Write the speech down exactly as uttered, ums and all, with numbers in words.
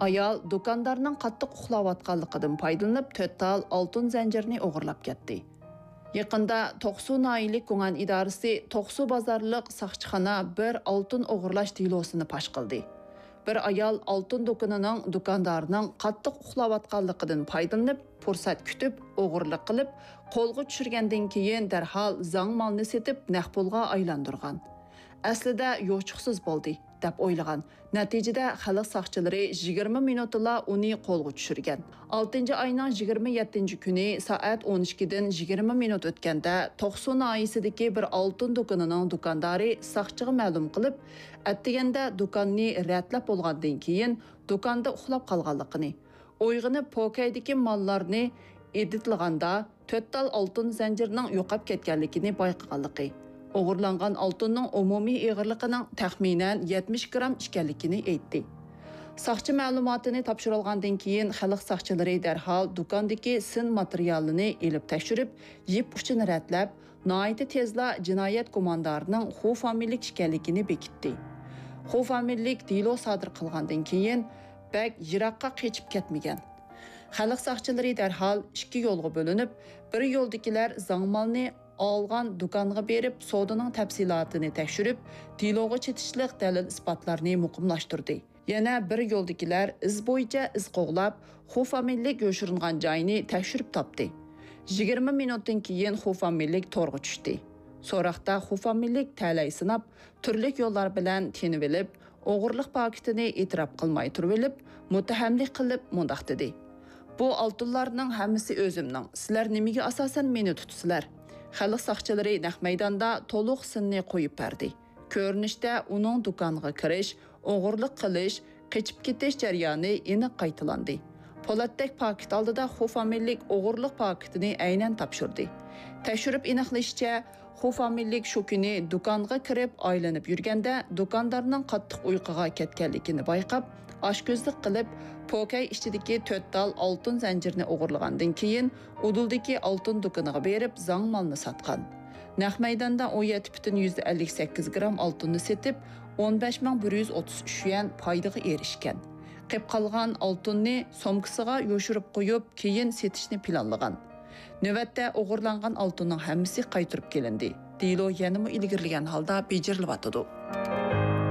ئايال دۇكاندارنىڭ قاتتىق ئۇخلاۋاتقانلىقىدىن پايدىلىنىپ، تۆت تال ئالتۇن زەنجىرىنى ئوغرىلاپ كەتتى. يېقىندا توقسۇ ناھىيەلىك گۇڭئەن ئىدارىسى توقسۇ بازارلىق ساقچىخانا بىر ئالتۇن ئوغرىلاش دېلوسىنى پاش قىلدى. بىر ئايال ئالتۇن دۇكىنىنىڭ دۇكاندارىنىڭ قاتتىق ئۇخلاۋاتقانلىقىدىن پايدىلىنىپ، پۇرسەت كۈتۈپ، ئوغرىلىق قىلىپ، قولغا چۈشۈرگەندىن كېيىن دەرھال زاڭ مالنى سېتىپ، نەق پۇلغا ئايلاندۇرغان. ئەسلىدە يوچۇقسىز بولدى، دەپ ئويلىغان. نەتىجىدە، خەلق ساقچىلىرى يىگىرمە مىنۇتتىلا ئۇنى قولغا چۈشۈرگەن. ئالتىنچى ئاينىڭ يىگىرمە يەتتىنچى كۈنى سائەت ئون ئىككىدىن يىگىرمە مىنۇت ئۆتكەندە، توقسۇ ناھىيەسىدىكى بىر ئالتۇن دۇكىنىنىڭ دۇكاندارى ساقچىغا مەلۇم قىلىپ، ئەتىگەندە دۇكاننى رەتلەپ بولغاندىن كېيىن، دۇكاندا ئۇخلاپ قالغانلىقىنى، ئويغىنىپ، پوكەيدىكى ماللارنى ئېدىتلىغاندا، تۆت تال ئالتۇن زەنجىرىنىڭ يوقاپ كەتكەنلىكىنى بايقىغانلىقى، ئوغرىلانغان ئالتۇننىڭ ئومۇمىي ئېغىرلىقىنىڭ تەخمىنەن يەتمىش گرام ئىكەنلىكىنى ئېيتتى. ساقچى مەلۇماتىنى تاپشۇرۇۋالغاندىن كېيىن، خەلق ساقچىلىرى دەرھال دۇكاندىكى سىن ماتېرىيالىنى ئېلىپ تەكشۈرۈپ، يىپ ئۇچىنى رەتلەپ، ناھايىتى تېزلا جىنايەت گۇماندارىنىڭ خۇ فامىلىلىك ئىكەنلىكىنى بېكىتتى. خۇ فامىلىلىك دېلو سادىر قىلغاندىن كېيىن، بەك يىراققا قېچىپ كەتمىگەن. خەلق ساقچىلىرى دەرھال ئىككى يولغا بۆلۈنۈپ، بىر يولدىكىلەر زاڭ مالنى ئالغان دۇكانغا بېرىپ، سودىنىڭ تەپسىلاتىنى تەكشۈرۈپ، دېلوغا چېتىشلىق دەلىل-ئىسپاتلارنى مۇقىملاشتۇردى. يەنە بىر يولدىكىلەر ئىز بويىچە ئىز قوغلاپ، خۇ فامىلىلىك يوشۇرۇنغان جاينى تەكشۈرۈپ تاپتى. يىگىرمە مىنۇتتىن كېيىن خۇ فامىلىلىك تورغا چۈشتى. سوراقتا خۇ فامىلىلىك تەلەي سىناپ، تۈرلۈك يوللار بىلەن تېنىۋېلىپ، ئوغرىلىق پاكىتىنى ئېتىراپ قىلماي تۇرۇۋېلىپ، مۇتتەھەملىك قىلىپ مۇنداق دېدى: «بۇ ئالتۇنلارنىڭ ھەممىسى ئۆزۈمنىڭ، سىلەر نېمىگە ئاساسەن مېنى تۇتىسىلەر؟» خەلق ساقچىلىرى نەق مەيداندا تولۇق سىننى قويۇپ بەردى. كۆرۈنۈشتە ئۇنىڭ دۇكانغا كىرىش، ئوغرىلىق قىلىش، قېچىپ كېتىش جەريانى ئېنىق قايتىلاندى. پولاتتەك پاكىت ئالدىدا خۇ فامىلىلىك ئوغرىلىق پاكىتىنى ئەينەن تاپشۇردى. تەكشۈرۈپ ئېنىقلىشىچە، خۇ فامىلىلىك شۇ كۈنى دۇكانغا كىرىپ ئايلىنىپ يۈرگەندە، دۇكاندارنىڭ قاتتىق ئۇيقۇغا كەتكەنلىكىنى بايقاپ، ئاچكۆزلۈك قىلىپ، پوكەي ئىچىدىكى تۆت تال ئالتۇن زەنجىرىنى ئوغرىلىغاندىن كېيىن، ئۇدۇلدىكى ئالتۇن دۇكىنىغا بېرىپ، زاڭ مالنى ساتقان. نەق مەيداندا ئون يەتتە پۈتۈن يۈزدە ئەللىك سەككىز گرام ئالتۇننى سېتىپ، ئون بەش مىڭ بىر يۈز ئوتتۇز ئۈچ يۈەن پايدىغا ئېرىشكەن. قېپ قالغان ئالتۇننى سومكىسىغا يوشۇرۇپ قويۇپ، كېيىن سېتىشنى پىلانلىغان. نۆۋەتتە ئوغرىلانغان ئالتۇننىڭ ھەممىسى قايتۇرۇپ كېلىندى. دېلو يەنىمۇ ئىلگىرىلىگەن ھالدا بېجىرىلىۋاتىدۇ.